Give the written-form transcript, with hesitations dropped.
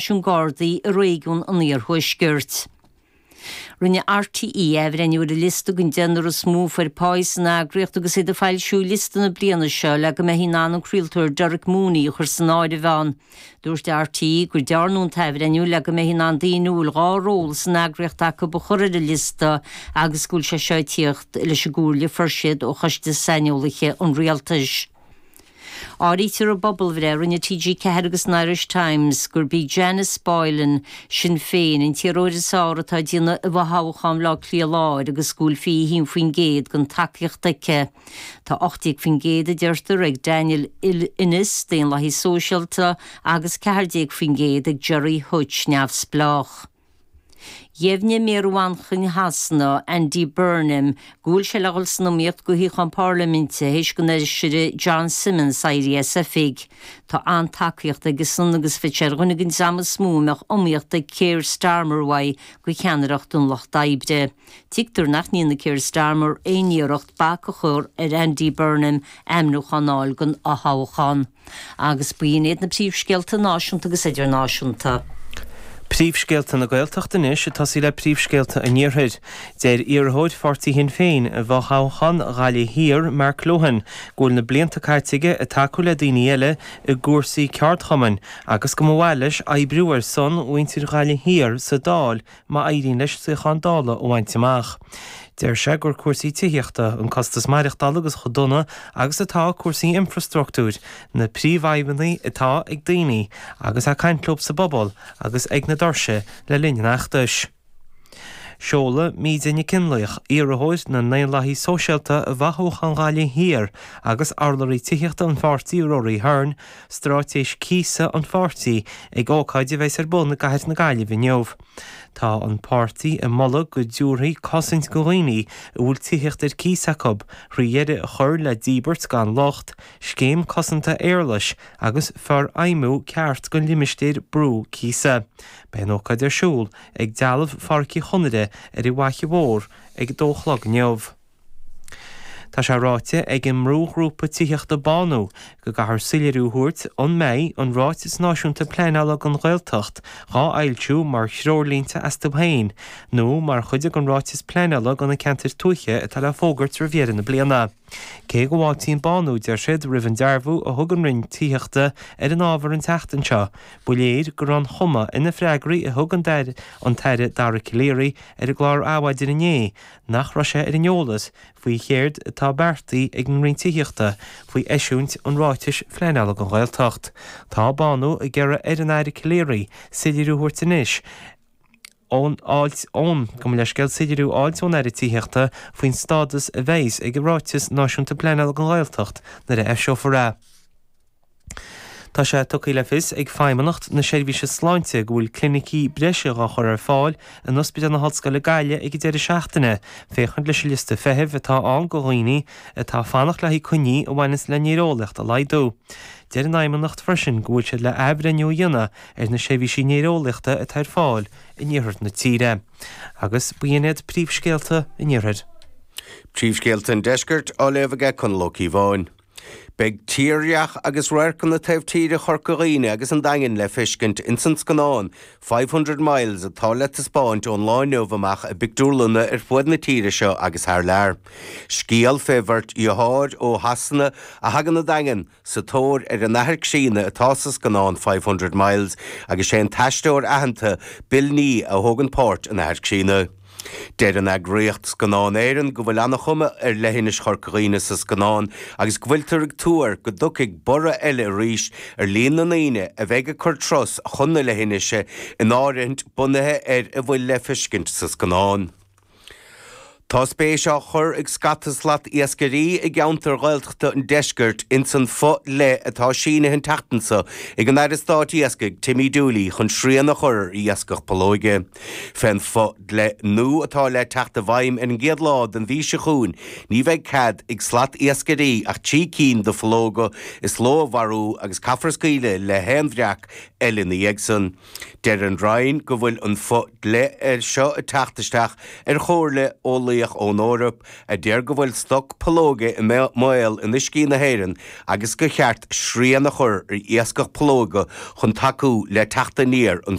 Stáisiún Gardaí i réigiún an Iarthuaiscirt. Rinne RTÉ athbhreithniú ar an liosta den deichniúr is mó a fuair páí san eagraíocht agus iad ag foilsiú liosta na bliana seo le go mbeifí in ann an craoltóir Derek Mooney a chur san áireamh ann. Dúirt RTÉ gur dearnadh an t-athbhreithniú le go mbeifí in ann daoine a bhfuil 2 ról san eagraíocht acu a chur ar an liosta agus go bhfuil sé seo ag tíocht leis an gcomhairle a fuair siad ó Choiste Saineolaithe an Rialtais. Áirítear i bpobalbhreith a rinne TG4 agus an Irish Times gurb í Janice Boylan, Sinn Féin, an t-iarrthóir is fearr atá ag déanamh i bhfothoghchán Bhaile Átha Cliath Láir agus go bhfuil 21% den tacaíocht aici. Tá 18% a deirtear ag Daniel Ennis, Daonlathaí Sóisialta, agus 14% ag Gerry Hutch, Neamhspleách. Dheimhnigh Méara Mhanchain Shasana, Andy Burnham, go bhfuil sé le dhul san iomaíocht do shuíochán parlaiminte théis don fheisire John Simmonds éirí as oifig. Tá an-tacaíocht aigesan agus bheadh sé ar dhuine den dream is mó a mbeadh iomaíocht ag Keir Starmer uaidh do cheannaireacht an Lucht Oibre. Tuigtear nach ndéanfaidh Keir Starmer aon iarracht bac a chur ar Andy Burnham ainmniúchán a fháil don fhothoghchán. Agus b'in iad na príomhscéalta náisiúnta agus idirnáisiúnta. Príomhscéalta na Gaeltachta anois, ag tosaí le príomhscéalta an Iarthair. Deir iarrthóir pháirtí Shinn Féin i bhfothoghchán Ghaillimh Thiar, Mark Lohan, go bhfuil na blianta caite aige ag tacú le daoine eile i gcúrsaí ceardchumainn agus go mba mhaith leis oibriú ar son mhuintir Ghaillimh Thiar sa Dáil má éiríonn leis suíochán Dála a bhaint amach. Deir sé gur cúrsaí tithíochta, an costas maireachtála agus chomh dona agus atá cúrsaí infreastruchtúir, na príomhfhadhbanna atá ag daoine agus é ag caint leo sa bpobal agus ag na doirse le linn an fheachtais. Seolfaidh Míde Nic Fhionnlaoich, iarrthóir na nDaonlathaithe Sóisialta i bhfothoghchán Ghaillimh Thiar agus urlabhraí tithíochta an pháirtí Rory Hearne, straitéis cíosa an pháirtí ag ócáid a bheas ar bun i gcathair na Gaillimhe inniu. Tá an páirtí ag moladh go dtabharfaí cosaint do dhaoine a bhfuil tithíocht ar cíos acu thrí dheireadh a chur le díbirt gan locht, scéim cosanta éarlais agus forfheidhmiú ceart den limistéar brú cíosa. Beidh an ócáid ar siúl ag Dealbh Pháirc Uí Chonaire ar an bhFaiche Mhór ag a dó a chlog inniu. Tá sé ráite ag an mbrúghrúpa tithíochta Bánú go gcaithfear soiléiriú a thabhairt an mbeidh an Ráiteas Náisiúnta Pleanála don Ghaeltacht dhá fhoilsiú mar threoirlínte astu féin nó mar chuid den Ráiteas Pleanála do na Ceantair Tuaithe atá le fógairt roimh dheireadh na bliana. Cé go bhfáiltíonn Bánú, deir siad, roimh an dearbhú a thug an Roinn Tithíochta ar an ábhar an tseachtain seo, ba léir go raibh an chuma ar na freagraí a thug an tAire Dara Calleary ar an gclár Adhmhaidin inné nach raibh sé ar an eolas faoi chéard atá beartaithe ag an Roinn Tithíochta faoi eisiúint an Ráitis Phleanála don Ghaeltacht. Tá Bánú ag iarraidh ar an Aire Calleary soiléiriú a thabhairt anois ón fháilt ón, gabh mo leithscéal, soiléiriú a fháilt ón Aire Tithíochta faoin stádas a bheas ag an Ráiteas Náisiúnta Pleanála don Ghaeltacht nuair a eiseofar é. Tá sé tugtha le fios ag Feidhmeannacht na Seirbhíse Sláinte go bhfuil clinicí breise dhá chur ar fáil in Ospidéal na hOllscoile Gaillimh ag an deireadh seachtaine féachaint leis an liosta feithimh atá ann do dhaoine atá ag fanacht le haghaidh coinní a bhaineanns le néareolaíocht a laghdú. Deir an Fheidhmeannacht freisin go bhfuil siad le athbhreithniú a dhéanamh ar na seirbhísí néareolaíochta atá ar fáil in iarthar na tíre. Agus b'in iad príomhscéalta an iarthair. Príomhscéalta an deiscirt á léamh aige Conall Ó Cíobháin. Beidh tírdhreach agus radharcanna taobh tíre Chorca Dhuibhne agus an Daingin le feiscint ins an scannán 500 Miles atá le taispeáint ón lá inniu amach i bpictiúrlanna ar fuaid na tíre seo agus thar lear. Scéal fé bheirt dheartháir ó Shasana a thagann 'on Daingean sa tóir ar an athair críonna atá sa scannán 500 Miles agus sé an t-aisteoir aitheanta Bill Nighy a thógann páirt an athar críonna. Deir an eagraíocht Scannán Éireann go bhfuil an-chuma ar leithinis Chorca Dhuibhne sa scannán agus go bhfuiltear ag tuar go dtiocfaidh borradh eile arís ar líon na ndaoine a bheidh ag cur turas chun na leithinise in áirithint bunaithe ar a bhfuil le feiscint sa scannán. Tá spéis á chur ag scata slat iascairí i gceantair Ghaeltachta an deiscirt ins an fo-dhlí atá sínithe an tseachtain seo ag an Aire Stáit Iascaigh Timmy Dooley chun srian a chur ar iascach pollóige. Fén fo-dhlí nua atá le teacht i bhfeidhm ar an gcéad lá den mhí seo chugainn ní bheidh cead ag slat iascairí ach 3 cinn de phollóga is ló a mharú agus caithfear scaoileadh le haon bhreac eile ina dhiaidh san. Deir an Roinn go bhfuil an fo-dhlí seo ag teacht isteach ar chomhairle ó luí. eolaíoch ón Eoraip a deir go bhfuil stoc pollóige i mbaol in uiscí na hÉireann agus gur cheart srian a chur ar iascach pollóige chun tacú le teacht aniar an.